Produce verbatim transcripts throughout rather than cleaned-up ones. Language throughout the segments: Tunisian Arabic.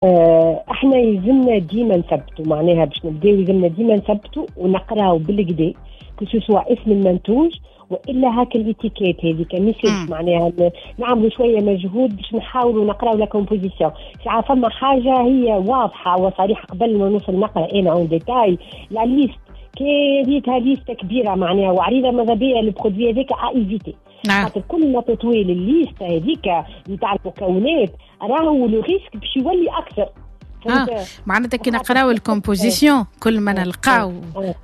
آه، احنا يلزمنا ديما نثبتوا، معناها باش نبداو يلزمنا ديما نثبتوا ونقراو بالقدا، que ce soit اسم المنتوج والا هاك l'étiquette هذيك، ميسالش، معناها نعملوا شوية مجهود باش نحاولوا نقراو la composition. ساعة فما حاجة هي واضحة وصريحة قبل ما نوصل نقرا انا en détail la liste، كي ريتها liste كبيرة معناها وعريضه، ماذا بيا ال produit هذاك à éviter. نعم. خاطر كل ما تطويل ال liste هذيك نتاع المكونات راهو le risque باش يولي اكثر. آه. معناتها كي نقراو ال composition كل ما نلقاو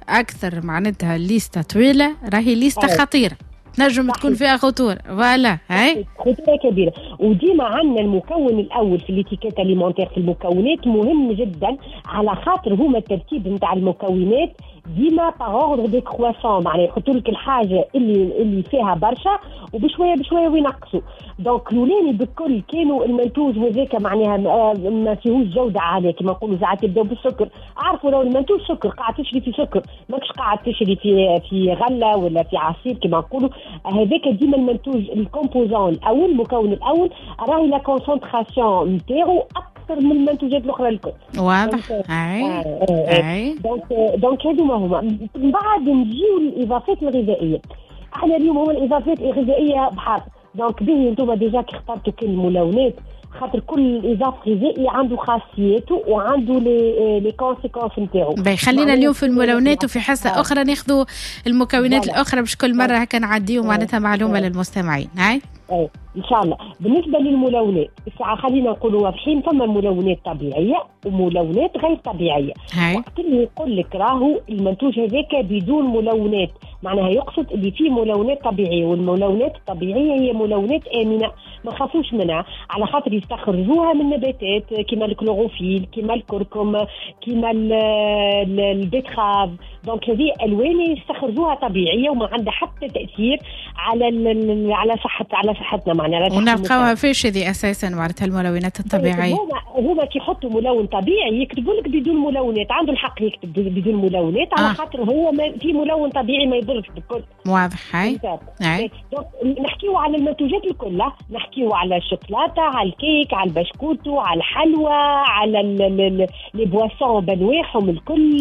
اكثر، معناتها liste طويلة راهي liste خطيره، تنجم تكون فيها خطوره، voilà. هاي خطورة كبيره. وديما عندنا المكون الاول في l'étiquette alimentaire في المكونات مهم جدا، على خاطر هما الترتيب نتاع المكونات ديما par ordre décroissant، معناها يحطوا لك الحاجة اللي اللي فيها برشا وبشويه بشوية وينقصوا. donc الاولاني بالكل كانوا المنتوج هذاك معناها ما فيهوش جوده عاليه، كما نقولوا ساعات يبداو بالسكر. عرفوا لو المنتوج سكر، قاعد تشري في سكر، ماكش قاعد تشري في في غله ولا في عصير كما نقولوا. هذاك ديما المنتوج ال composant الاول، المكون الاول، راهي la concentration نتاعو اكثر من المنتوجات الاخرى الكل. واضح، اي اي. donc donc هذوما هما. من بعد نجيو للاضافات الغذائيه. احنا اليوم هو الاضافات الغذائية بحر. donc به انتم déjà كي اخترتوا كل الملونات، خاطر كل اضافه غذائي عنده خاصياته وعنده les les conséquences نتاعو. باهي، خلينا اليوم في الملونات وفي حصة آه. اخرى ناخذوا المكونات الاخرى، باش كل مرة هكا نعديو معناتها معلومة للمستمعين. هاي. ايه ان شاء الله. بالنسبة للملونات الساعة خلينا نقولوا واضحين، فما ملونات طبيعية وملونات غير طبيعيه. هاي. وقت اللي يقول لك راهو المنتوج هذاك بدون ملونات، معناها يقصد اللي فيه ملونات طبيعيه، والملونات الطبيعية هي ملونات امنه ما خافوش منها، على خاطر يستخرجوها من نباتات كيما الكلوروفيل، كيما الكركم، كيما ال betterave. donc هذه الوان يستخرجوها طبيعية وما عندها حتى تاثير على على صحة على صحتنا معناها. ونلقاوها فيش هذه اساسا معناتها الملونات الطبيعيه؟ هما هما كي يحطوا ملون طبيعي يكتبوا لك بدون ملونات، عنده الحق يكتب بدون ملونات على آه. خاطر هو ما في ملون طبيعي ما يضرش بالكل. واضح، هاي. donc نحكيو على المنتوجات الكل، نحكيو على الشوكولاته، على الكيك، على البشكوتو، على الحلوى، على les boissons بانواعهم الكل.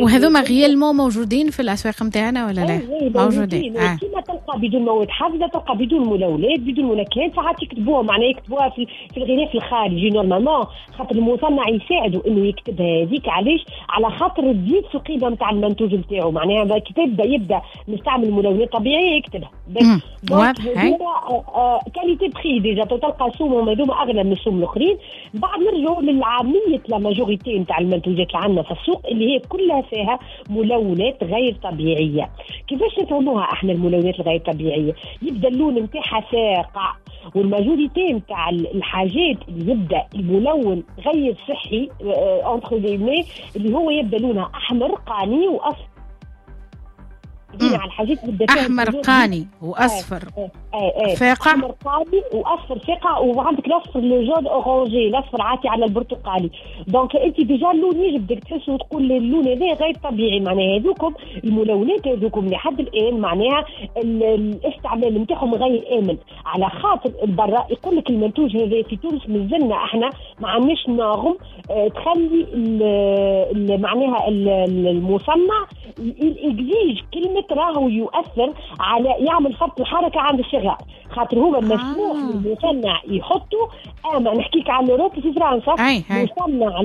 وهذوما réellement موجودين في الاسواق نتاعنا ولا لا؟ موجودين. آه. كيما تلقى بدون مواد حافظه تلقى بدون ملونات، بدون منكهات. ساعات يكتبوها، معناها يكتبوها في, في الغلاف الخارجي normalement، خاطر المصنع يساعدوا انه يكتبها هذيك. علاش؟ على خاطر تزيد في القيمة نتاع المنتوج نتاعو، معناها كي تبدا يبدا مستعمل ملونات طبيعية يكتبها. واضح. qualité prix déjà تلقى سومهم هذوما اغلى من السوم الاخرين. بعد نرجعوا للعاميه، la majorité نتاع المنتوجات اللي عندنا في السوق اللي هي كلها فيها ملونات غير طبيعيه. كيفاش نفهموها احنا الملونات الغير طبيعيه؟ يبدا اللون نتاعها فاقع، وال majorité نتاع الحاجات اللي يبدا الملون غير صحي entre guillemets اللي هو يبدا لونها احمر قاني واصفر. على الحاجات احمر قاني واصفر آه آه آه فاقع. احمر قاني واصفر فاقع، وعندك الاصفر le jaune orangé، الاصفر عاطي على البرتقالي. donc انت déjà اللون يجبدك، تحس وتقول اللون هذا غير طبيعي. معناها هذوكم الملونات هذوكم لحد الان معناها الاستعمال نتاعهم غير امن، على خاطر برا يقول لك المنتوج هذا في تونس مازلنا احنا ما عندناش norme اه تخلي معناها المصنع exige كلمة راهو يؤثر على يعمل فرط الحركة عند الصغار، خاطر هو مسموح آه. للمصنع يحطوا، اما نحكيك على l'Europe في فرنسا مصنع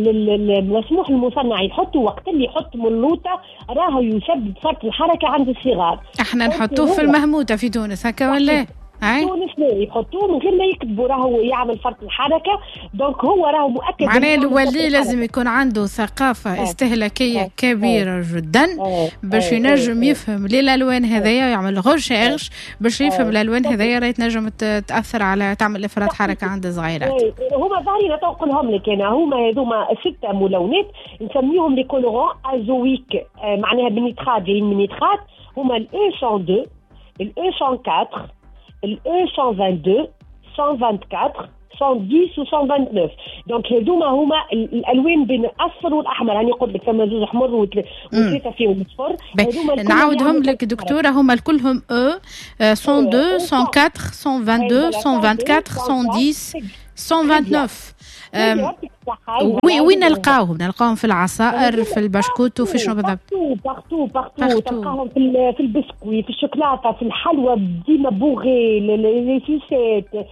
مسموح للمصنع يحطوا وقت اللي يحط ملوطه راهو يسبب فرط الحركة عند الصغار. احنا نحطوه في المهموته في تونس هكا ولا؟ تونس لا، يحطوه من غير ما يكتبوا راهو يعمل فرط الحركه. donc هو راهو مؤكد. معناه الولي لازم يكون عنده ثقافة آه. استهلاكية آه. كبيرة آه. جدا آه. باش ينجم آه. يفهم ليه الالوان هذايا ويعمل recherche باش يفهم الالوان هذايا راهي تنجم تاثر على تعمل افراط حركة عند الصغيرات. هما ظاهرين نقولهم لك انا، هما هذوما ستة ملونات نسميهم les colorants azoïques، معناها بال nitrate، جايين من nitrate. هما ال E مية واثنين، ال E مية وأربعة، ال E مية واثنين وعشرين، مية وأربعة وعشرين، مية وعشرة و مية وتسعة وعشرين. donc هذوما هما الالوان بين الاصفر والاحمر. يعني قلت لك فما زوج احمر وثلاثة فيهم اصفر. هذوما نعاودهم لك دكتوره، هما كلهم E مية واثنين، مية وأربعة، مية واثنين وعشرين، مية وأربعة وعشرين، مية وعشرة. مية وتسعة وعشرين. وين وين نلقاوهم؟ نلقاهم في العصائر، في البشكوت، في شنو بالضبط؟ partout partout، تلقاهم في في البسكوي، في الشوكولاته، في الحلوى ديما beurrée، les sucettes،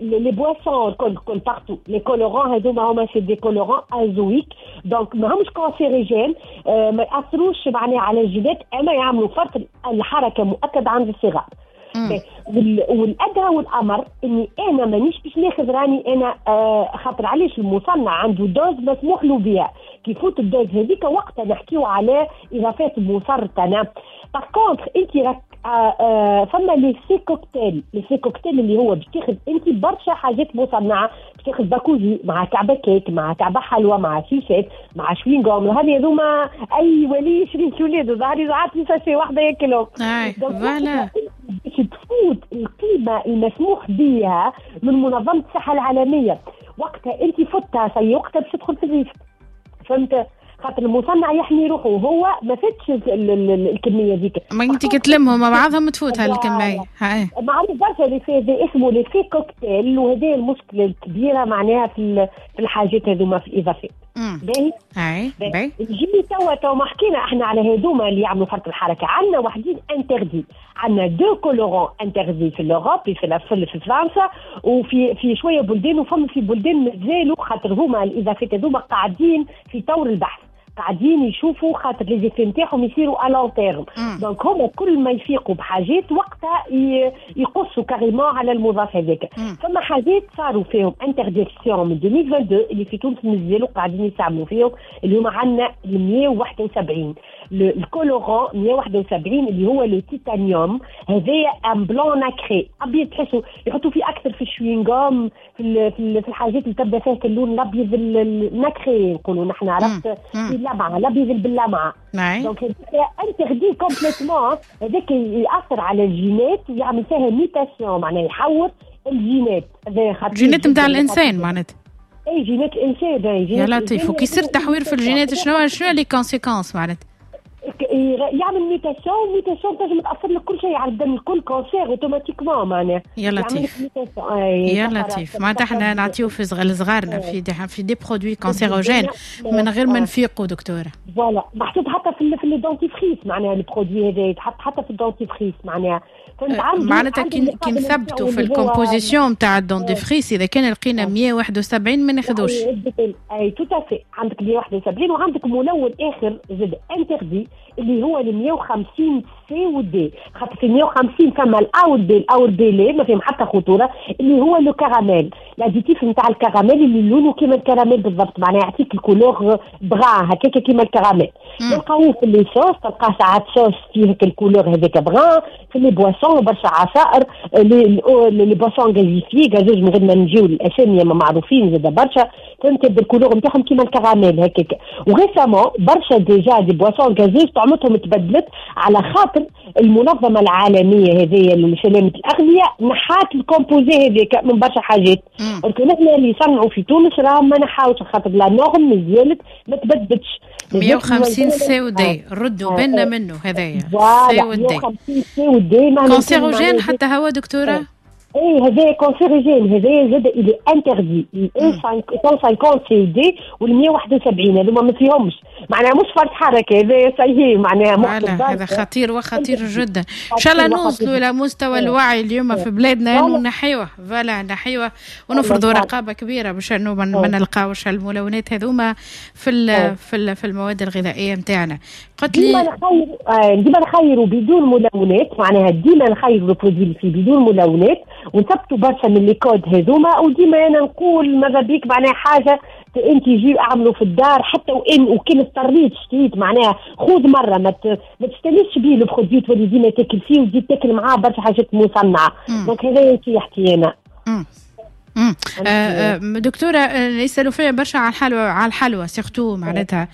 les boissons، الكل الكل partout. les colorants هذوما هما c'est des colorants azoïques، donc ما همش cancérigènes، ما ياثروش معناها على الجينات، اما يعملوا فرط الحركة مؤكد عند الصغار. والادهى والامر اني انا مانيش باش ناخذ راني انا آه خاطر علاش؟ المصنع عنده dose مسموح له بها، كي يفوت ال dose هذيك وقتها نحكيو على اضافات مسرطنه. par contre انت راك آه آه فما l'effet cocktail، l'effet cocktail اللي هو باش تاخذ انت برشا حاجات مصنعه، باش تاخذ باكو jus مع كعبه كيك مع كعبه حلوى مع sucette مع شوينغوم. هذه هذوما اي ولي يشري وليده ظهري عاطي sachet واحدة ياكلهم. voilà. باش تفوت القيمة المسموح بها من منظمة الصحة العالميه، وقتها انت فتها ça y est، وقتها باش تدخل في ال risque، فهمت؟ خاطر المصنع يحمي روحه وهو ما فاتش الكمية ذيك. ما انت كي تلمهم مع بعضهم تفوت هالكميه. هاي معروف برشا l'effet، اسمه l'effet cocktail، وهذه المشكلة الكبيرة معناها في في الحاجات هذوما، في الاضافات. باهي. اي باهي. نجي توا توا ما حكينا احنا على هذوما اللي يعملوا فرط الحركه، عندنا وحدين interdits، عندنا deux colorants interdits في l'Europe، في في فرنسا وفي في شوية بلدان، وفما في بلدان مازالوا، خاطر هما الاضافات هذوما قاعدين في طور البحث، قاعدين يشوفوا خاطر les effets نتاعهم يصيروا à long terme، donc هما كل ما يفيقوا بحاجات وقتها يقصوا carrément على المضاف هذاك. فما حاجات صاروا فيهم interdiction من ألفين واثنين وعشرين اللي في تونس مازالوا قاعدين يستعملوا فيهم، اللي هما عندنا مية وواحد وسبعين، ال colorant مية وواحد وسبعين اللي هو le titanium. هذايا un blanc nacré، ابيض، تحسوا يحطوا فيه اكثر في الشوينغوم، في في الحاجات اللي تبدا فيها اللون الابيض ال nacré نقولوا نحن، عرفت؟ اللمعه، الابيض باللمعه. donc interdit complètement. هذاك ياثر على الجينات ويعمل فيها mutation، معناها يحور الجينات. هذا جينات نتاع الانسان معناتها؟ اي، جينات الانسان. يا لطيف، وكي يصير تحوير في الجينات شنو شنو les conséquences معناتها؟ يعمل mutation، mutation تنجم تاثر لك كل شيء على الدم الكل، cancer automatiquement معناها. يا لطيف يا لطيف، معناتها احنا نعطيو في صغارنا في des في des produits cancérogènes من غير ما نفيقوا دكتوره. voilà، محطوط حتى في في ال dentifrice، معناها ال produit هذا يتحط حتى في ال dentifrice معناها. معناتها كي كي نثبتوا في ال composition تاع ال dentifrice، اذا كان لقينا مية وواحد وسبعين ما ناخذوش. اي tout à fait، عندك مية وواحد وسبعين وعندك ملون اخر زاد interdit اللي هو ال مية وخمسين C و D، خاطر في مية وخمسين فما ال A وال B، ال A وال B لا ما فيهم حتى خطوره، اللي هو le caramel، l'additif نتاع الكراميل اللي لونه كيما الكراميل بالضبط، معناها يعطيك ال couleur brun هكاك كيما الكراميل. تلقاوه في les sauces، تلقاه ساعات صوص فيه ال couleur هذاك brun، في les boissons، برشا عصائر، les les boissons gazéifiées، gazeuses، من غير ما نجيو الاسامي ما معروفين زاد برشا، فهمت؟ بال couleur نتاعهم كيما الكراميل هكاك. و récemment برشا déjà des boissons gazeuses طعمتهم تبدلت على خاطر المنظمة العالمية هذه لسلامة الاغذية نحات ال composé هذاك من برشا حاجات، ولكن احنا اللي يصنعوا في تونس راهم ما نحاوش خاطر la norme مازالت ما تبدلتش. مية وخمسين C و D، ردوا بالنا منه هذايا. C و D، مية وخمسين C و D. cancérogène حتى هو دكتوره؟ اي، هذا cancérigène، هذا زاد il est interdit، مية وخمسين C D وال مية وواحد وسبعين هذوما ما فيهمش، معناها مش فرط حركة هذا صحيح معناها. هذا خطير وخطير جدا. ان شاء الله نوصلوا الى مستوى الوعي اليوم في بلادنا انه نحيوه، voilà، نحيوه ونفرضوا رقابه كبيرة باش انه ما نلقاوش الملونات هذوما في ال في ال في المواد الغذائية نتاعنا. قلت لي ديما نخير، آه، ديما نخيروا بدون ملونات، معناها ديما نخيروا ال produit اللي فيه بدون ملونات ونثبتوا برشا من les codes هذوما. وديما انا نقول ماذا بيك معناها حاجة انت jus اعملوا في الدار، حتى وان وكان اضطريت شريت معناها خذ مرة ما ما تستانسش بيه le produit، تولي ديما تاكل فيه وتزيد تاكل معاه برشا حاجات مصنعه. donc هذا نصيحتي انا. مم. آه، آه، دكتورة، آه، يسألوا فيا برشا على الحلوى، على الحلوى surtout معناتها،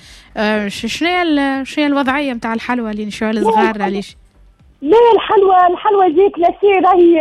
شنو هي شنو هي الوضعية نتاع الحلوى اللي نشوفها الصغار علاش؟ لا الحلوى الحلوى زيت glacée راهي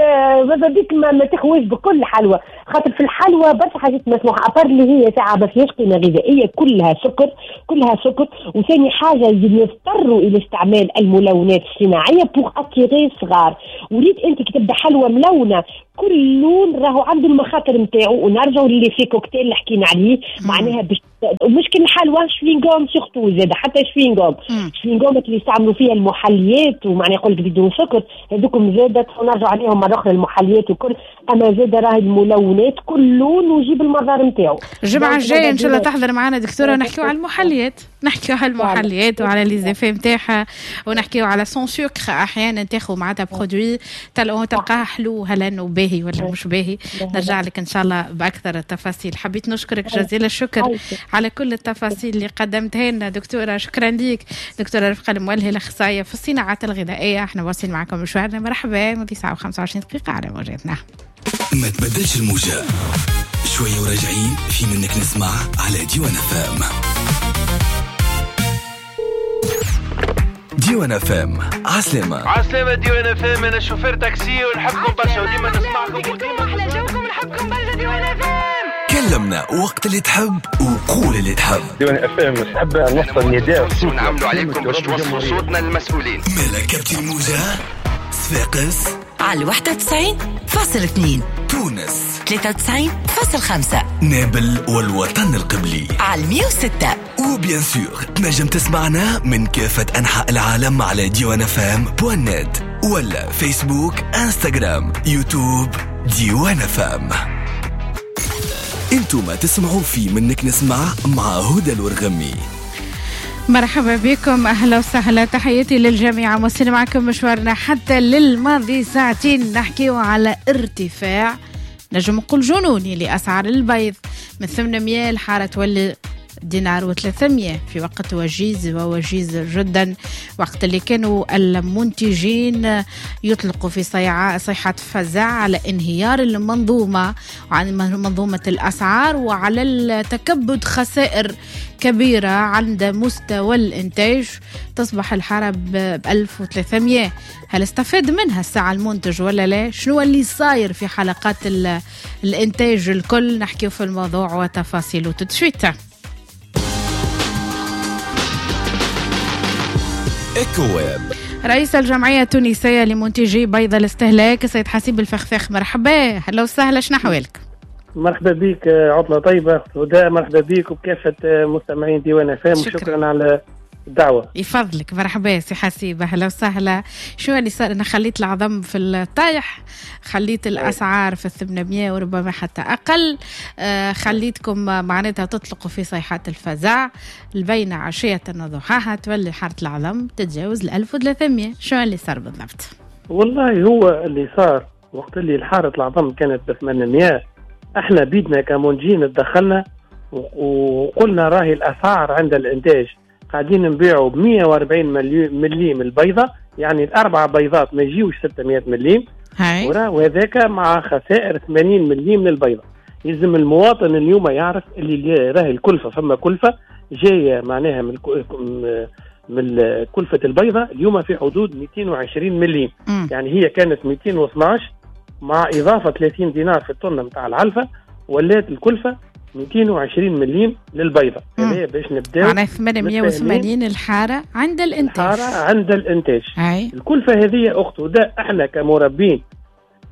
ماذا بيك ما, ما تخوش بكل حلوى، خاطر في الحلوى برشا حاجات مسموحة à part اللي هي ساعة ما فيهاش قيمة غذائية، كلها سكر كلها سكر. وثاني حاجة يضطروا الى استعمال الملونات الصناعية pour attirer الصغار. وليت انت كي تبدا حلوى ملونة كل لون راهو عنده المخاطر نتاعو، ونرجعوا لل effet cocktail اللي حكينا عليه، معناها باش مشكل الحلوى chewing-gum surtout زاد حتى chewing-gum chewing-gum اللي يستعملوا فيها المحليات ومعناها يقول لك بدون سكر، هذوكم زاد ونرجع عليهم مرة اخرى المحليات وكل. اما زاد راهي الملونات كل لون ويجيب المظهر نتاعو. الجمعة الجاية ان شاء الله تحضر معنا دكتورة ونحكيو على المحليات، نحكيو على المحليات وعلى les effets نتاعها، ونحكيو على sans sucre. احيانا تاخذ معناتها produit تلقاها حلو هل باهي ولا مش باهي. نرجع لك ان شاء الله باكثر التفاصيل. حبيت نشكرك جزيل الشكر على كل التفاصيل اللي قدمتها لنا دكتورة، شكرا لك دكتورة رفقه المولهي الاخصائيه في الصناعات الغذائية. احنا واصلين معكم مشوارنا، مرحبا ماضي ساعة وخمسة وعشرين دقيقة على موجاتنا. ما تبدلش الموجه، شوية وراجعين في منك نسمع على ديوان فام. ديوان فام عسلامة. عسلامة ديوان فام، أنا شوفير تاكسي ونحبكم برشا وديما نسمعكم وديما أحلى جوكم، نحبكم برشا ديوان فام. كلمنا وقت اللي تحب وقول اللي تحب. ديوان فام نحب نوصل نداء ونعملوا عليكم باش توصلوا صوتنا للمسؤولين. ملكة الموجة صفاقس على واحد وتسعين فاصل اثنين، تونس ثلاثة وتسعين فاصل خمسة، نابل والوطن القبلي على مية وستة. و bien sûr تنجم تسمعنا من كافة أنحاء العالم على ديوان فام point net ولا فيسبوك، انستغرام، يوتيوب ديوان فام. انتم تسمعوا في منك نسمع مع هدى الورغمي. مرحبا بكم، أهلا وسهلا، تحياتي للجميع. مواصلين معكم مشوارنا حتى للماضي ساعتين، نحكيو على ارتفاع نجم نقول جنوني لأسعار البيض من ثمانمية الحارة تولي دينار وثلاثمية في وقت وجيز ووجيز جدا، وقت اللي كانوا المنتجين يطلقوا في صيحة فزع على انهيار المنظومة وعن منظومة الأسعار وعلى التكبد خسائر كبيرة عند مستوى الإنتاج. تصبح الحارة بألف وثلاثمية. هل استفاد منها الساعة المنتج ولا لا؟ شنو اللي صاير في حلقات الإنتاج الكل؟ نحكي في الموضوع وتفاصيله تتشويته. رئيس الجمعية التونسية لمنتجي بيض الاستهلاك سيد حسيب الفخفاخ، مرحبا، هلا وسهلا، شنو أحوالك؟ مرحبا بك، عطلة طيبة هدى، مرحبا بك وبكافة مستمعين ديوان فام، وشكرا على الدعوة. يفضلك، مرحبا سي حسيب، أهلا وسهلا. شو اللي صار؟ أنا خليت العظم في الطايح، خليت الأسعار في الثمانمية وربما حتى أقل، آه خليتكم معناتها تطلقوا في صيحات الفزع البين عشية وضحاها تولي حارة العظم تتجاوز الألف وثلاثمية. شو اللي صار بالضبط؟ والله هو اللي صار وقت اللي الحارة العظم كانت ب ثمانمية، احنا بيدنا كمنتجين تدخلنا وقلنا راهي الأسعار عند الإنتاج قاعدين نبيعوا ب مية وأربعين مليم البيضة، يعني الأربع بيضات ما يجيوش ستمية مليم، وهذاك مع خسائر ثمانين مليم للبيضة. يلزم المواطن اليوم يعرف اللي راهي الكلفة، فما كلفة جاية معناها من من كلفة البيضة اليوم في حدود مئتين وعشرين مليم، م. يعني هي كانت مئتين واثناش مع إضافة ثلاثين دينار في الطن متاع العلفة، ولات الكلفة مئتين وعشرين مليم للبيضة. هذا باش نبداو معناها ثمانمية وثمانين الحارة عند الإنتاج. الحارة عند الإنتاج. أي. الكلفة هذه أخت وده احنا كمربين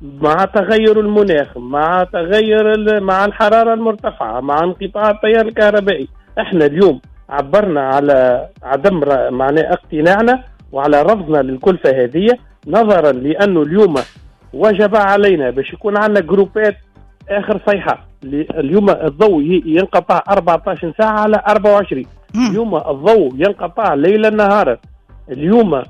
مع تغير المناخ، مع تغير مع الحرارة المرتفعة، مع انقطاع التيار الكهربائي، احنا اليوم عبرنا على عدم معناه اقتناعنا وعلى رفضنا للكلفة هذه، نظرا لأنه اليوم وجب علينا باش يكون عندنا جروبات آخر صيحة. اليوم الضوء ينقطع أربعة عشر ساعة على أربعة وعشرين، اليوم الضوء ينقطع ليلا نهارا، اليوم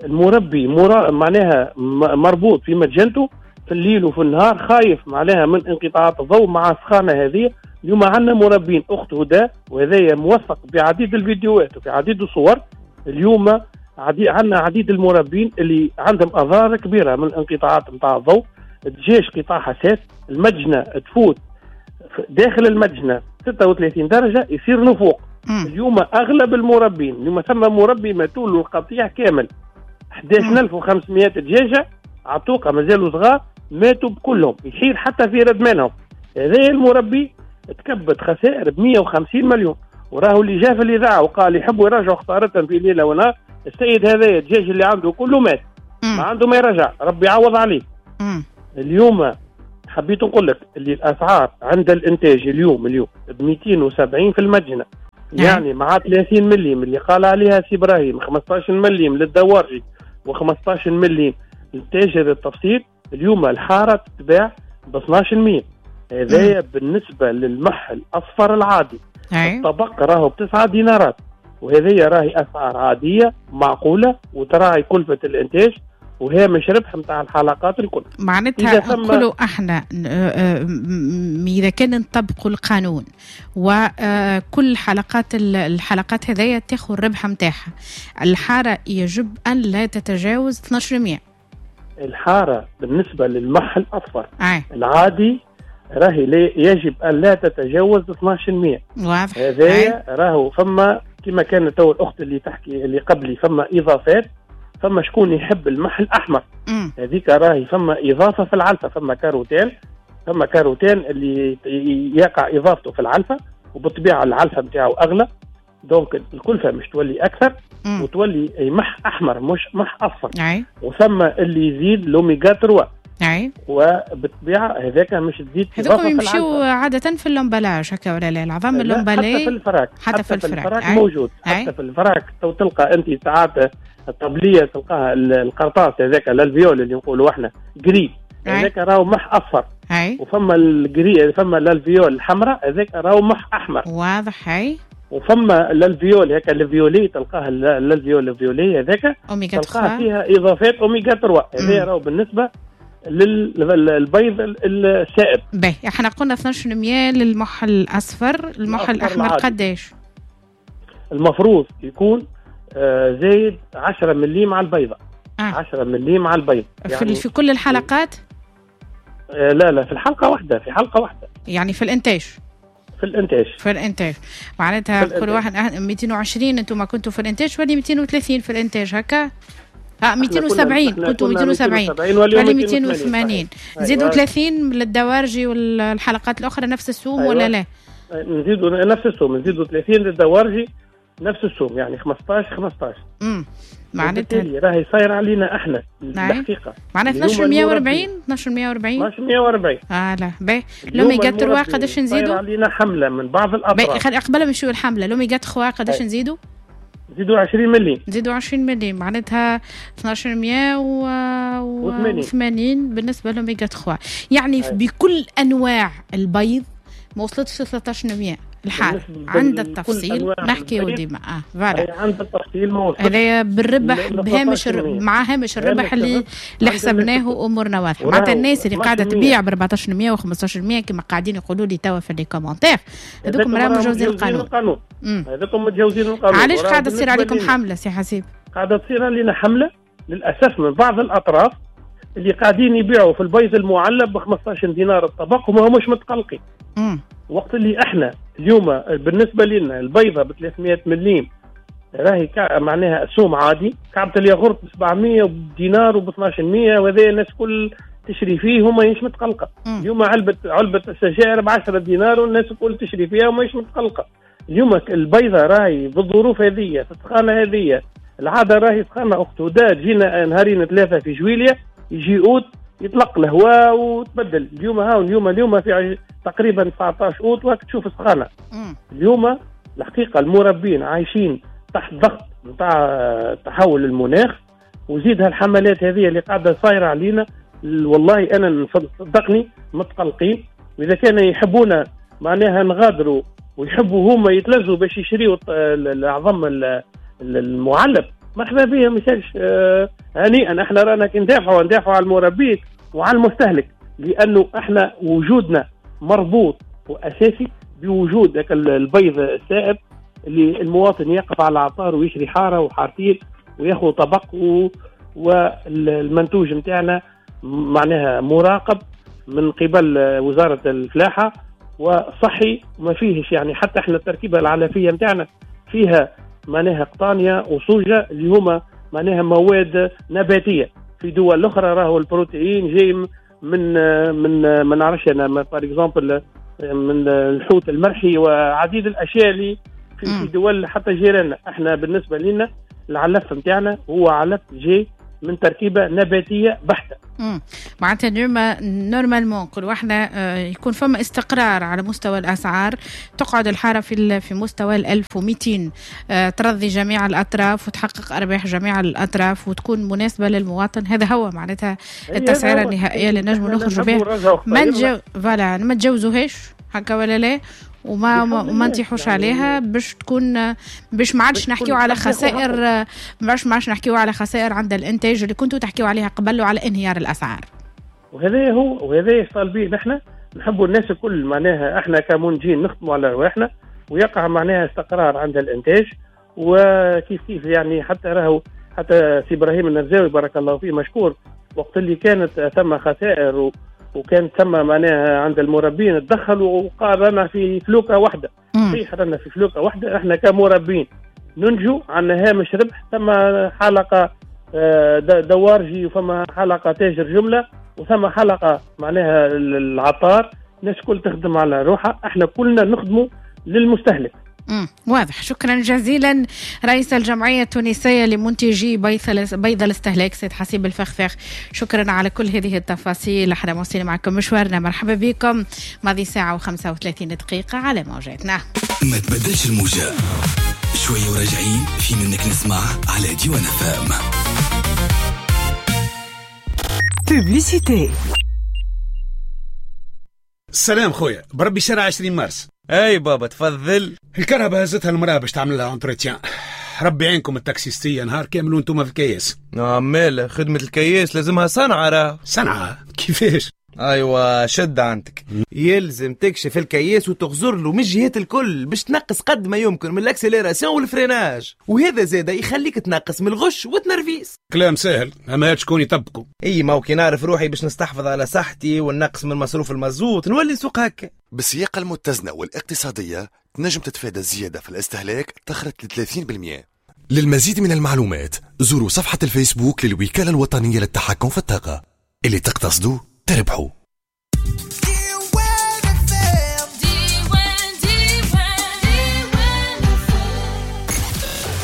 المربي مرا... معناها مربوط في متجنته في الليل وفي النهار، خايف معناها من انقطاعات الضوء مع السخانة هذه. اليوم عندنا مربين أخت هدى، وهذا موثق بعديد الفيديوهات وفي عديد الصور. اليوم عدي... عندنا عديد المربين اللي عندهم أضرار كبيرة من الانقطاعات نتاع الضوء. الدجاج قطاع حساس، المجنة تفوت داخل المجنة ستة وثلاثين درجة يصير نفوق. مم. اليوم أغلب المربين، اليوم ثم مربي ماتوا له القطيع كامل، أحد عشر ألف وخمسمائة دجاجه عتوقه مازالوا صغار ماتوا بكلهم، يحير حتى في ردمانهم. هذا المربي تكبت خسائر ب مئة وخمسين مليون، وراهو اللي جا في الاذاعة وقال يحبوا يراجعوا خسارتهم في ليلة ونهار. السيد هذا الدجاج اللي عنده كله مات، ما عنده ما يرجع، ربي يعوض عليه. مم. اليوم حبيت نقول لك اللي الاسعار عند الانتاج اليوم اليوم ب مئتين وسبعين في المدينة، يعني مع ثلاثين مليم اللي قال عليها سي ابراهيم، خمسطاش مليم للدوارجي وخمسطاش مليم للتاجر التفصيل. اليوم الحارة تتباع ب اثناش مية. هذايا بالنسبة للمح الاصفر العادي. أي. الطبق راهو بتسعة دينارات، وهذه راهي اسعار عادية معقولة وتراعي كلفه الانتاج وهامش ربح نتاع الحلقات الكل. معناتها نقولوا احنا اذا كان نطبقوا القانون وكل حلقات الحلقات هذيا تاخذ الربح نتاعها، الحارة يجب ان لا تتجاوز اثناش مية. الحارة بالنسبة للمح الاصفر العادي راهي يجب ان لا تتجاوز اثناش مية. واضح. هذايا راهو فما كما كانت تو الاخت اللي تحكي اللي قبلي فما اضافات، فما شكون يحب المح الاحمر، هذيك راهي فما اضافه في العلفه، فما كاروتين، فما كاروتين اللي يقع اضافته في العلفه، وبالطبيعه العلفه نتاعو اغلى، donc الكلفة مش تولي اكثر. مم. وتولي مح احمر مش مح اصفر. أي. وثم اللي يزيد l'oméga ثلاثة. أي. وبالطبيعه هذاك مش تزيد. هذوك يمشيو عادة في l'emballage هكا ولا لا؟ العظام l'emballé حتى في الفراك، حتى, حتى في الفراك, الفراك موجود. أي. حتى في الفراك تو تلقى انت ساعات الطبلية تلقاها القرطاس هذاك l'alvéole اللي نقولوا احنا gris، هذاك راهو مح اصفر. أي. وفما ال gris، فما l'alvéole الحمراء هذاك راهو مح احمر. واضح. هاي. وفما l'alvéole هكا ال violet تلقاها l'alvéole ال violet هذاك تلقاها فيها اضافات اوميغا ثلاثة. هذا راهو بالنسبة للبيض السائب. باهي، احنا قلنا اثناش مية للمح الاصفر، المح الاحمر قداش؟ المفروض يكون آه زايد عشرة مليم على البيضة. آه. عشرة مليم على البيض يعني في كل الحلقات؟ آه لا لا، في الحلقة واحدة، في حلقة واحدة يعني في الانتاج. في الانتاج في الانتاج معناتها كل واحد مئتين وعشرين انتم كنتوا في الانتاج ولي مئتين وثلاثين في الانتاج هكا؟ اه مئتين وسبعين كنتوا مئتين وسبعين ولي مئتين وثمانين. نزيدوا ثلاثين للدوارجي والحلقات الاخرى نفس السوم. أيوة. ولا لا؟ نزيدوا نفس السوم، نزيدوا ثلاثين للدوارجي نفس السوم، يعني خمسطاش خمسطاش. امم معناتها راهي صاير علينا احنا الحقيقة. معناتها اثناش مية وأربعين اثناش مية وأربعين اثناش مية وأربعين. اه لا باهي. l'oméga ثلاثة قداش نزيدوا؟ صاير علينا حمله من بعض الاطراف. باهي، قبل ما نمشيو الحملة l'oméga ثلاثة قداش نزيدوا؟ نزيدوا عشرين مليم. نزيدوا عشرين مليم معناتها اثناش مية وثمانين بالنسبة l'oméga ثلاثة. يعني أي. بكل انواع البيض ما وصلتش ثلاثطاش مية الحال عند التفصيل نحكيو ديما. اه voilà، عند التفصيل ما وصلتش هذايا بالربح بهامش مع هامش الربح اللي اللي حسبناه وامورنا واضحة. معناتها الناس اللي قاعدة تبيع ب أربعطاش مية و خمسطاش مية كما قاعدين يقولوا لي توا في les commentaires، هذوكم راهم متجاوزين القانون. هذوكم متجاوزين القانون. علاش قاعدة تصير عليكم حمله سي حسيب؟ قاعدة تصير علينا حمله للاسف من بعض الاطراف اللي قاعدين يبيعوا في البيض المعلب ب خمسطاش دينار الطبق وما همش متقلقين. وقت اللي احنا اليوم بالنسبة لنا البيضة ب ثلاثمائة مليم راهي معناها سوم عادي، كعبه الياغورت ب سبعمية دينار وب اثناش مية، وهذا الناس كل تشري فيه وما هيش متقلقه. اليوم علبة علبة السجائر ب عشرة دينار والناس الكل تشري فيها وما هيش متقلقه. اليوم البيضة راهي بالظروف هذه في السخانه هذه، العادة راهي سخانه اخت هدى، تجينا نهارين ثلاثة في جويليا يجي اوت يطلق الهواء وتبدل. اليوم ها اليوم اليوم في تقريبا تسعطاش اوت وقت تشوف سخانه. اليوم الحقيقة المربين عايشين تحت ضغط نتاع تحول المناخ، وزيد هالحملات هذه اللي قاعدة صايرة علينا. والله انا صدقني متقلقين، واذا كان يحبونا معناها نغادروا ويحبوا هما يتلزوا باش يشريوا العظم المعلب، مرحبا بهم، ما يسالش. هنيئا، احنا رانا كي ندافعوا ندافعوا على المربين وعلى المستهلك، لانه احنا وجودنا مربوط واساسي بوجود ذاك البيض السائب اللي المواطن يقف على العطار ويشري حارة وحارتين وياخذ طبق، و... والمنتوج نتاعنا معناها مراقب من قبل وزارة الفلاحة وصحي، وما فيهش يعني حتى احنا التركيبة العلفيه نتاعنا فيها معناها قطانيه وصوجه اللي هما معناها مواد نباتيه. في دول اخرى راهو البروتين جاي من من ما نعرفش انا par exemple من الحوت المرحي وعديد الاشياء اللي في دول حتى جيراننا. احنا بالنسبة لنا العلف نتاعنا هو علف جاي من تركيبه نباتيه بحته. امم معناتها normalement كل واحدة يكون فما استقرار على مستوى الاسعار، تقعد الحارة في في مستوى ال ألف ومئتين، ترضي جميع الاطراف وتحقق ارباح جميع الاطراف وتكون مناسبة للمواطن. هذا هو معناتها التسعيره النهائية اللي نجموا نخرجوا بها، ما نجو voilà ما نتجاوزوهاش هكا ولا لا، وما ما نطيحوش يعني عليها باش تكون باش ما عادش نحكيو على خسائر، باش ما عادش نحكيو على خسائر عند الانتاج اللي كنتوا تحكيو عليها قبل وعلى انهيار الاسعار. وهذا هو وهذا طالبين نحن نحبوا الناس الكل معناها احنا كمنتجين نخدموا على رواحنا ويقع معناها استقرار عند الانتاج. وكيف كيف يعني حتى راهو حتى سي ابراهيم النرزاوي بارك الله فيه مشكور، وقت اللي كانت ثم خسائر و وكان ثم معناها عند المربين تدخل وقال رانا في فلوكه واحدة. صحيح رانا في فلوكه واحدة، احنا كمربين ننجو عندنا هامش ربح، ثم حلقة دوارجي وفما حلقة تاجر جملة وثم حلقة معناها العطار، الناس كل تخدم على روحها، احنا كلنا نخدموا للمستهلك. مم. واضح. شكرا جزيلا رئيس الجمعية التونسية لمنتجي بيض الاستهلاك سيد حسيب الفخفاخ، شكرا على كل هذه التفاصيل. احنا مواصلين معكم مشوارنا، مرحبا بكم. ماضي ساعة وخمسة وثلاثين دقيقة على موجاتنا. ما تبدلش الموجة، شوية وراجعين في منك نسمع على ديوان فام. Publicité. السلام خويا، بربي شارع عشرين مارس. اي بابا تفضل. الكرهبة هزتها المراة باش تعمل لها entretien. ربي عينكم التاكسيستيه نهار كامل وانتم في الكياس. عمال خدمة الكياس لازمها صنعه. راه صنعه كيفاش؟ ايوه شد عندك، يلزم تكشف الكياس وتغزر له من الجهات الكل باش تنقص قد ما يمكن من ال accélération وال freinage، وهذا زاده يخليك تنقص من الغش وتنرفيس. كلام سهل اما هات شكون يطبقه. اي ما هو كي نعرف روحي باش نستحفظ على صحتي ونقص من مصروف المازوت نولي نسوق هكا. بالسياقة المتزنة والاقتصادية تنجم تتفادى الزيادة في الاستهلاك تخرج ل ثلاثين بالمئة. للمزيد من المعلومات زوروا صفحة الفيسبوك للوكالة الوطنية للتحكم في الطاقة. اللي تقتصدوا تربحوا.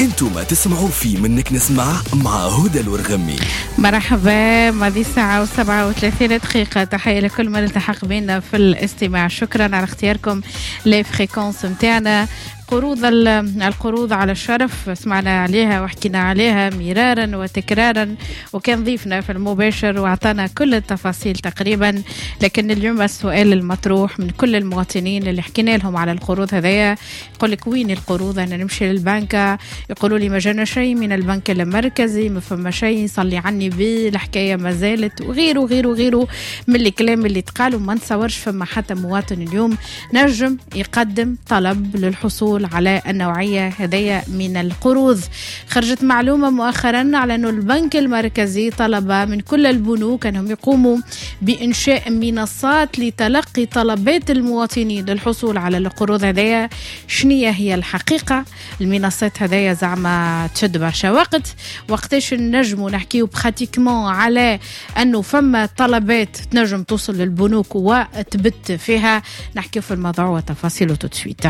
انتم تسمعوا في منك نسمع مع هدى الورغمي. مرحبا، ماضي ساعة وسبعة وثلاثين دقيقة. تحية لكل من التحق بنا في الاستماع، شكرا على اختياركم les fréquences متاعنا. قروض القروض على الشرف سمعنا عليها وحكينا عليها مرارا وتكرارا، وكان ضيفنا في المباشر واعطانا كل التفاصيل تقريبا. لكن اليوم السؤال المطروح من كل المواطنين اللي حكينا لهم على القروض هذايا، يقول لك وين القروض؟ انا نمشي للبنك يقولوا لي ما جانا شيء من البنك المركزي، ما فما شيء، صلي عني بي الحكاية ما زالت، وغيره وغيره وغيره من الكلام اللي تقال. وما نتصورش فما حتى مواطن اليوم نجم يقدم طلب للحصول على النوعية هذية من القروض. خرجت معلومة مؤخرا على أن البنك المركزي طلب من كل البنوك أنهم يقوموا بإنشاء منصات لتلقي طلبات المواطنين للحصول على القروض هذية. شنية هي الحقيقة؟ المنصات هذية زعما تشد برشا وقت، وقتاش نجموا نحكيو pratiquement على أنه فما طلبات تنجم توصل للبنوك وتبت فيها؟ نحكيو في الموضوع وتفاصيله tout de suite.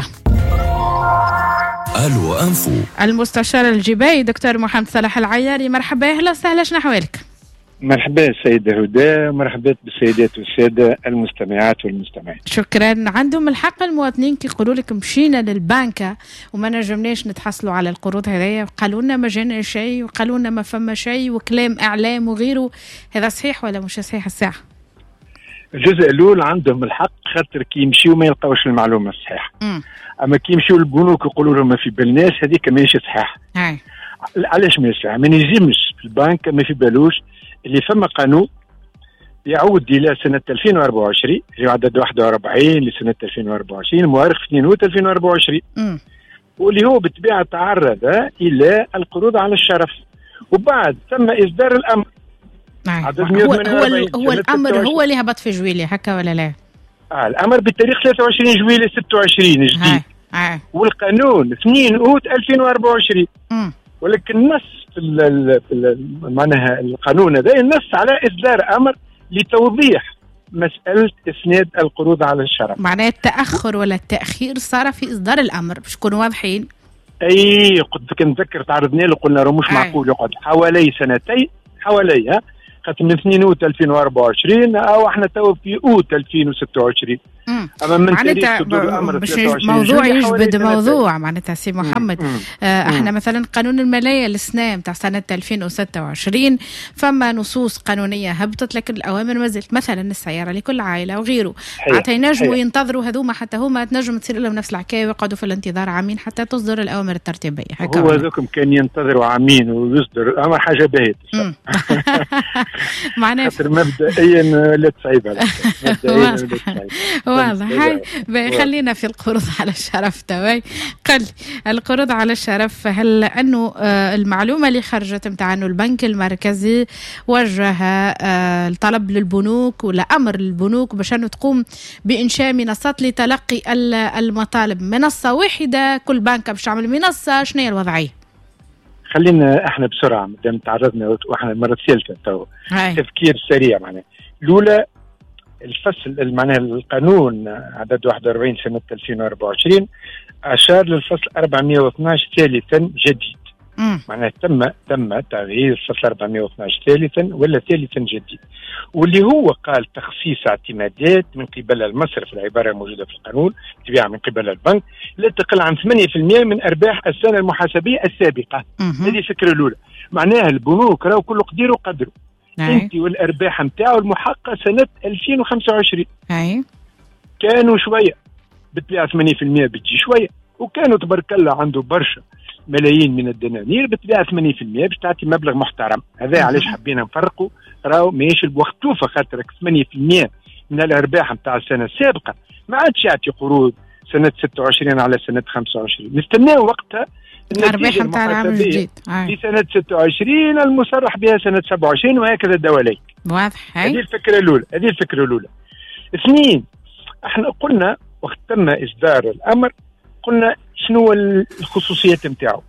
الو انفو. المستشار الجبائي دكتور محمد صلاح العياري، مرحبا، اهلا وسهلا، شنو احوالك؟ مرحبا السيدة هدى، مرحبا بالسيدات والسادة المستمعات والمستمعين. شكرا. عندهم الحق المواطنين كي يقولوا لك مشينا للبنكة وما نجمناش نتحصلوا على القروض هذيا، قالوا لنا ما جانا شيء وقالوا لنا ما فما شيء وكلام اعلام وغيره، هذا صحيح ولا مش صحيح الساعة؟ الجزء الاول عندهم الحق، خاطر كي يمشيو ما يلقاوش المعلومة الصحيحة. اما كي يمشيو للبنوك يقولوا لهم ما في بالناش، هذيك ماهيش صحيحه. علاش ماهيش صحيحه؟ ما ينجمش البنك ما في بالوش اللي فما قانون يعود الى سنة ألفين وأربعة وعشرين، اللي عدد واحد وأربعين لسنه ألفين وأربعة وعشرين، المؤرخ اثنين أوت ألفين وأربعة وعشرين، م. واللي هو بالطبيعة تعرض الى القروض على الشرف، وبعد تم اصدار الامر. هو هو, هو الامر هو اللي هبط في جويلي هكا ولا لا؟ آه الامر بالتاريخ ثلاثة وعشرين جويلي ستة وعشرين جديد. آه. والقانون اثنين أوت ألفين وأربعة وعشرين. مم. ولكن نص في ال في ال معناها القانون هذا النص على اصدار امر لتوضيح مسالة اسناد القروض على الشرف. معناها التاخر ولا التاخير صار في اصدار الامر باش نكونوا واضحين. اي قلت نتذكر تعرضنا له قلنا راه مش معقول يقعد حوالي سنتين، حوالي خاطر من اثنين أوت ألفين وأربعة وعشرين او احنا تو في اوت ألفين وستة وعشرين. اما من تاريخ صدور الامر باش موضوع يجبد موضوع معناتها سي محمد. آه احنا مثلا قانون المالية السنة نتاع سنة ألفين وستة وعشرين فما نصوص قانونية هبطت لكن الاوامر ما زالت، مثلا السيارة لكل عائلة وغيره، حتى ينجموا ينتظروا هذوما حتى هما تنجم تصير لهم نفس الحكاية ويقعدوا في الانتظار عامين حتى تصدر الاوامر الترتيبية. هو هذوكم كان ينتظروا عامين ويصدر الامر حاجة باهيه معناها خاطر مبدئيا لا تصعيب مبدئيا لا تصعيب. واضح. خلينا في القروض على الشرف تواي. قل القروض على الشرف، هل أنه المعلومة اللي خرجت متاع أنه البنك المركزي وجه الطلب للبنوك ولا أمر للبنوك باش أنه تقوم بإنشاء منصات لتلقي المطالب، منصة واحدة كل بنك باش تعمل منصة، شنو هي الوضعية؟ خلينا احنا بسرعة مادام تعرضنا واحنا المرة الثالثة تو تفكير سريع. معناها الأولى الفصل معناها القانون عدد واحد وأربعين سنة ألفين وأربعة وعشرين أشار للفصل أربعمائة واثناش ثالثا جديد. معناها تم تم تغيير الفصل أربعمائة واثناش ثالثا ولا ثالثا جديد، واللي هو قال تخصيص اعتمادات من قبل المصرف، العبارة الموجودة في القانون تبيع من قبل البنك لا تقل عن ثمانية بالمئة من أرباح السنة المحاسبية السابقة. هذه الفكرة الأولى. معناها البنوك راهو كل قدير وقدره. انت والارباح نتاعو المحققه سنة ألفين وخمسة وعشرين اي كانوا شوية بالطبيعة ثمانية بالمئة بتجي شوية، وكانوا تبارك الله عنده برشا ملايين من الدنانير بالطبيعة ثمانية بالمئة باش تعطي مبلغ محترم. هذا علاش حبينا نفرقوا، راهو ماهيش الوقت توفى خاطر ثمانية بالمئة من الارباح نتاع السنة السابقة ما عادش يعطي قروض سنة ستة وعشرين على سنة خمسة وعشرين، نستناو وقتها الارباح نتاع العام الجديد في سنة ستة وعشرين المصرح بها سنة سبعة وعشرين وهكذا دواليك. واضح. هذه الفكرة الاولى، هذه الفكرة الاولى. اثنين، احنا قلنا وقت تم اصدار الامر قلنا شنو الخصوصيات نتاعو.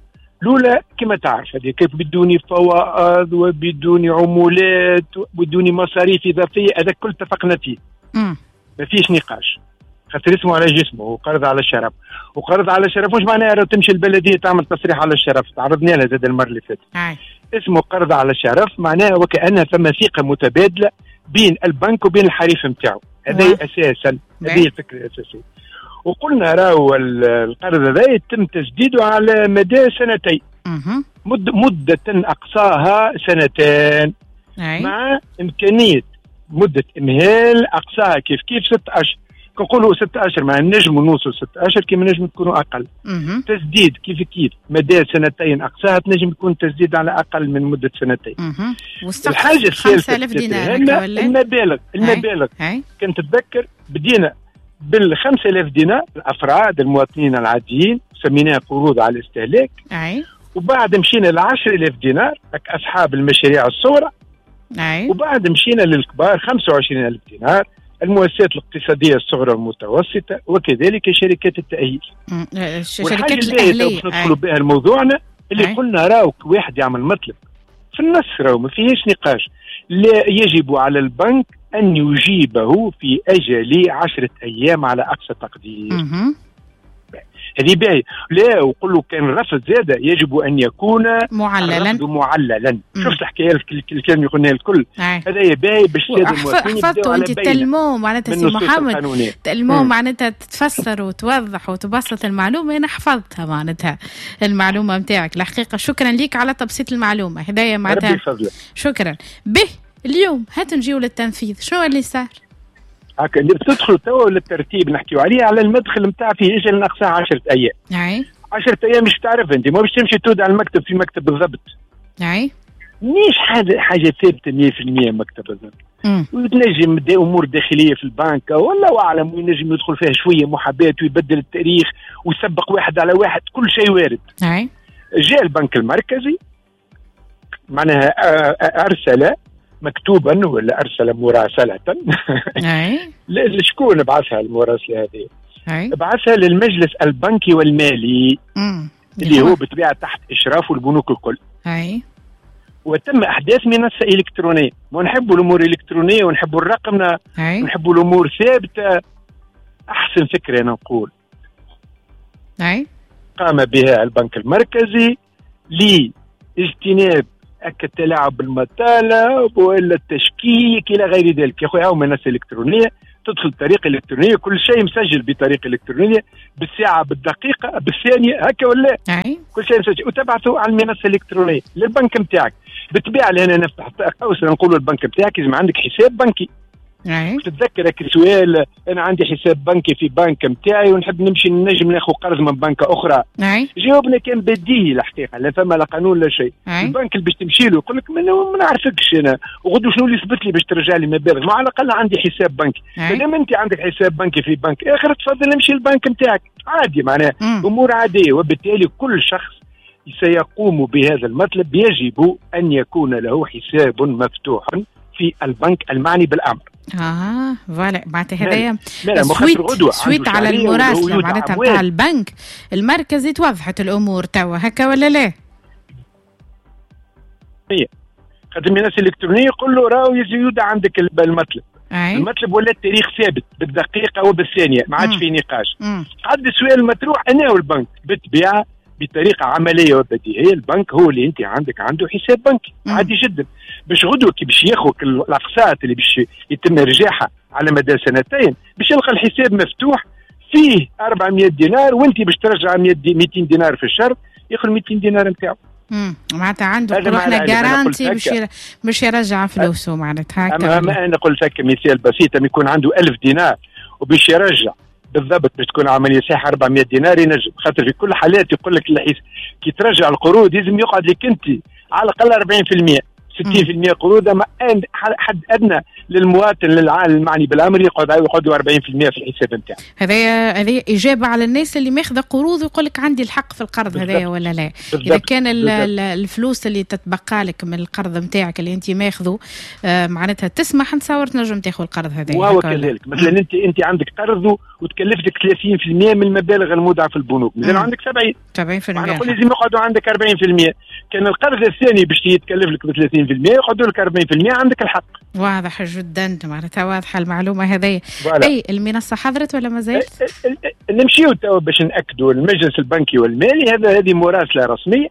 الاولى كما تعرف هذه كيف بدون فوائد وبدون عمولات وبدون مصاريف اضافية، هذا كل اتفقنا فيه. ما فيش نقاش خاطر اسمه على جسمه وقرض على الشرف. وقرض على الشرف مش معناها لو تمشي البلدية تعمل تصريح على الشرف، تعرضنا لها زاد المرة اللي فاتت. اسمه قرض على الشرف معناها وكأنها ثم ثقة متبادلة بين البنك وبين الحريف نتاعو. هذا اساسا، هذه الفكرة الاساسية. وقلنا راهو القرض هذا يتم تسديده على مدى سنتين، مد مده اقصاها سنتين، مع امكانية مده امهال اقصاها كيف كيف ست اشهر. كنقولوا ست اشهر مع نجموا نوصل ست اشهر كيما نجم تكونوا اقل. مم. تسديد كيف كيف مدى سنتين اقصاها تنجم يكون تسديد على اقل من مده سنتين. الحاجة الثالثة خمسة آلاف دينار المبالغ، المبالغ كنت تتذكر بدينا بال خمسة آلاف دينار الافراد المواطنين العاديين سميناها قروض على الاستهلاك. أي. وبعد مشينا ل عشرة آلاف دينار اصحاب المشاريع الصغرى. أي. وبعد مشينا للكبار خمسة وعشرين ألف دينار المؤسسات الاقتصادية الصغرى والمتوسطة وكذلك شركات التأهيل. الشركات الأهلية ندخلوا بها لموضوعنا اللي أي. قلنا راهو واحد يعمل مطلب في النص راهو ما فيهاش نقاش، لا يجب على البنك أن يجيبه في أجل عشرة أيام على أقصى تقدير. هذه باهي. لا وقول له كان الرفض زاد يجب ان يكون معللا معللا. شفت الحكاية الكلام اللي قلناها الكل، هذا باهي باش السادة المواطنين حفظتوا انت tellement معناتها سي محمد tellement معناتها تفسر وتوضح وتبسط المعلومة. انا حفظتها معناتها المعلومة نتاعك الحقيقة. شكرا ليك على تبسيط المعلومة هدايا معناتها، شكرا. به اليوم هات نجيو للتنفيذ، شنو اللي صار؟ هكا اللي بتدخلوا توا للترتيب نحكيو عليه على المدخل نتاع فيه اجل ناقصها عشرة ايام. اي عشرة ايام مش تعرف انت، ما باش تمشي تود على المكتب في مكتب بالضبط. اي مش حاجة حاجة ثابتة مية بالمية مكتب بالضبط. وتنجم دي امور داخلية في البنك والله اعلم، وينجم يدخل فيها شوية محاباة ويبدل التاريخ ويسبق واحد على واحد، كل شيء وارد. اي جاء البنك المركزي معناها ارسل مكتوبا ولا ارسل مراسله. لشكون بعثها المراسله هذه؟ بعثها للمجلس البنكي والمالي. مم. اللي هو بالطبيعة تحت اشرافه البنوك الكل. اي وتم احداث منصة الكترونية، ونحبوا الامور الالكترونية ونحبوا الرقمنه ونحبوا الامور ثابتة. احسن فكرة انا نقول اي قام بها البنك المركزي لاجتناب التلاعب بالمطالب والا التشكيك الى غير ذلك. يا خويا هاو منصة الكترونية، تدخل بطريقة الكترونية، كل شيء مسجل بطريقة الكترونية، بالساعة بالدقيقة بالثانية هكا ولا أي. كل شيء مسجل وتبعثه على المنصة الالكترونية للبنك نتاعك. بالطبيعة لهنا نفتح قوس نقولوا البنك نتاعك لازم عندك حساب بنكي. أي. تتذكر هيك السؤال، انا عندي حساب بنكي في بنك نتاعي ونحب نمشي نجم ناخذ قرض من بنك اخرى. أي. جاوبنا كان بديهي الحقيقة، لا فما لا قانون لا شيء. أي. البنك اللي باش تمشي له يقول لك ما نعرفكش انا، وغدو شنو اللي يثبت لي باش ترجع لي مبالغ؟ ما على الاقل عندي حساب بنكي. مادام انت عندك حساب بنكي في بنك اخر تفضل امشي للبنك نتاعك عادي، معناها امور عادية. وبالتالي كل شخص سيقوم بهذا المطلب يجب ان يكون له حساب مفتوح في البنك المعني بالامر. اه voilà معناتها هذايا suite suite على المراسله معناتها نتاع البنك المركزي توضحت الامور توا هكا ولا لا؟ هي خاطر المنصة الالكترونية يقول له راهو يزيد عندك المطلب. أي. المطلب ولا التاريخ ثابت بالدقيقة وبالثانيه، ما عادش فيه نقاش. قعد السؤال المطروح انا والبنك بالطبيعة بطريقة عملية وبديهيه، البنك هو اللي انت عندك عنده حساب بنكي عادي جدا، باش غدوه كي باش ياخذ الاقساط اللي باش يتم ارجاعها على مدى سنتين باش يلقى الحساب مفتوح فيه أربعمية دينار، وانت باش ترجع مئتين دينار في الشهر ياخذ مئتين دينار نتاعو. امم معناتها عنده احنا garantie باش باش يرجع فلوسه معناتها هكا. اما انا قلت لك مثال بسيط، يكون عنده ألف دينار وباش يرجع بالضبط باش تكون عملية صحيحه أربعمية دينار ينجم، خاطر في كل حالات يقول لك الحس كي ترجع القروض لازم يقعد لك انت على الاقل أربعين بالمية ستين بالمية قروض، اما حد ادنى للمواطن للعالم المعني بالامر يقعد يقعدوا أربعين بالمية في الحساب نتاعو. هذايا هذه اجابه على الناس اللي ماخذه قروض ويقول لك عندي الحق في القرض هذايا ولا لا. اذا كان الفلوس اللي تتبقى لك من القرض نتاعك اللي انت ماخذه آه معناتها تسمح نتصور تنجم تاخذ القرض هذايا. وهو كذلك مثلا انت انت عندك قرض وتكلفتك ثلاثين بالمية من المبالغ المودعه في البنوك، مازال عندك سبعين سبعين بالمية، نقول لازم يقعدوا عندك أربعين بالمية. كان القرض الثاني باش يتكلف لك ب ثلاثين بالمية يقعدوا لك أربعين بالمية، عندك الحق. واضح جدا معناتها واضحة المعلومة هذه. اي المنصة حضرت ولا ما زالت؟ نمشيو تو باش ناكدوا المجلس البنكي والمالي، هذا هذه مراسله رسمية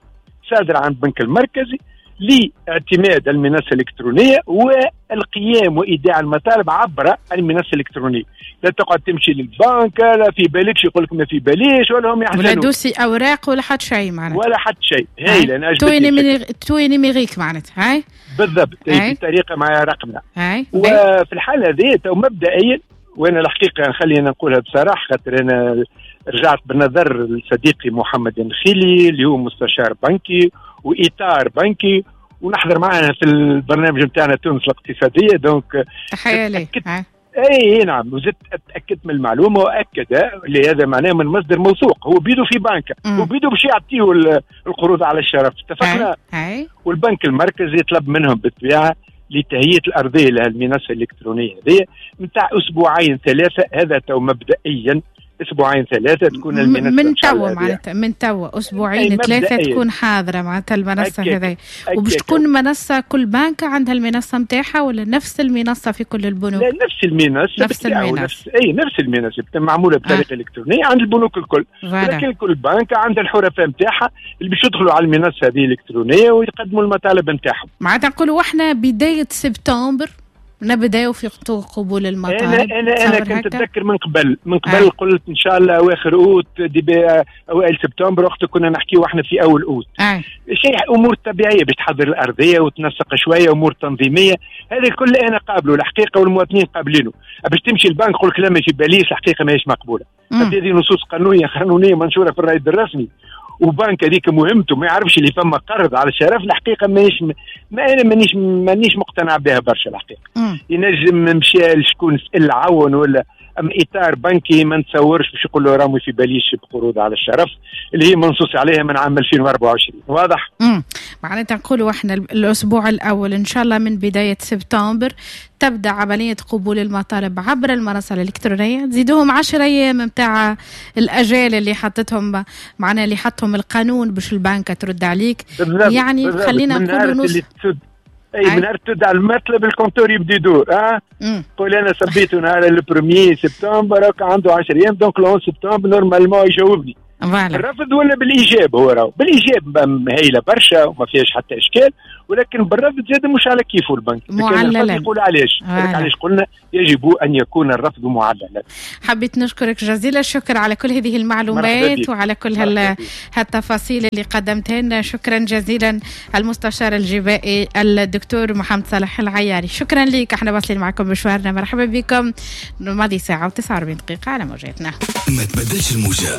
صادرة عن البنك المركزي لاعتماد المنصة الالكترونية والقيام وايداع المطالب عبر المنصة الالكترونية. لا تقعد تمشي للبنك لا في بالكش يقول لك ما في باليش ولا هم يحزنون، ولا dossier اوراق ولا حتى شيء معناتها، ولا حتى شيء. هايل انا tout numérique معناتها. هاي بالضبط بطريقة مع رقمنا. هاي وفي الحالة هذه تو مبدئيا، وانا الحقيقة خلينا نقولها بصراحة خاطر انا رجعت بالنظر لصديقي محمد النخيلي اللي هو مستشار بنكي واطار بنكي ونحضر معنا في البرنامج نتاعنا تونس الاقتصادية، donc تحية ليه. اي نعم، وزدت اتاكدت من المعلومة واكد اللي هذا معناه من مصدر موثوق، هو بيدو في بنكه وبيدو باش يعطيه القروض على الشرف. اتفقنا. أي. والبنك المركزي طلب منهم بالطبيعة لتهيئه الارضية لهالمنصه الالكترونية هذه نتاع اسبوعين ثلاثة، هذا تو مبدئيا اسبوعين ثلاثة تكون المنصة من توا معناتها من توا اسبوعين ثلاثة تكون حاضره معناتها المنصة هذه. وباش تكون منصة كل بنك عندها المنصة نتاعها ولا نفس المنصة في كل البنوك؟ لا نفس المنصة، نفس المنصة، نفس اي نفس المنصة معمولة بطريقة آه. الكترونية عند البنوك الكل، لكن كل بنك عندها الحرفاء نتاعها اللي باش يدخلوا على المنصة هذه الالكترونية ويقدموا المطالب نتاعهم. معناتها نقولوا احنا بداية سبتمبر نبداو في قبول المطالب. انا انا انا كنت اتذكر من قبل من قبل آه. قلت ان شاء الله اواخر اوت début اوائل سبتمبر، وقت كنا نحكيو احنا في اول اوت. آه. شيء امور طبيعية باش تحضر الارضية وتنسق شوية امور تنظيميه، هذا الكل انا قابله الحقيقة والمواطنين قابلينه. باش تمشي البنك يقول لك لا ما في باليش، الحقيقة ماهيش مقبولة. هذه نصوص قانونية قانونية منشورة في الرائد الرسمي، وبنك هذيك مهمته ما يعرفش اللي فما قرض على الشرف. الحقيقة ماهيش ما انا مانيش مانيش مقتنع بها برشا الحقيقة. ينجم مشى لشكون سال عون ولا ام اطار بنكي ما نتصورش باش يقول له رامي في باليش بقروض على الشرف اللي هي منصوص عليها من عام ألفين وأربعة وعشرين. واضح؟ امم معناتها نقولوا احنا الاسبوع الاول ان شاء الله من بداية سبتمبر تبدا عملية قبول المطالب عبر المنصة الالكترونية، تزيدوهم عشرة ايام نتاع الاجال اللي حطتهم معنا اللي حطهم بحكم القانون باش البنك ترد عليك. يعني بالضبط. خلينا نقولوا نص اي من نهار تدعى المطلب ال compteur يبدا يدور. اه قول انا صبيته نهار ال premier septembre عنده عشرة ايام، donc le onze septembre normalement يجاوبني. الرفض ولا بالايجاب؟ هو راهو بالايجاب هايلة برشا وما فيهاش حتى اشكال، ولكن بالرفض زاد مش على كيفه البنك. معللا يقول علاش؟ علاش قلنا يجب ان يكون الرفض معللا. حبيت نشكرك جزيل الشكر على كل هذه المعلومات وعلى كل هالتفاصيل اللي قدمتها لنا. شكرا جزيلا المستشار الجبائي الدكتور محمد صالح العياري، شكرا لك. احنا واصلين معكم مشوارنا، مرحبا بكم. ماضي ساعة وتسعة وأربعين دقيقة على موجاتنا. ما تبدلش الموجه.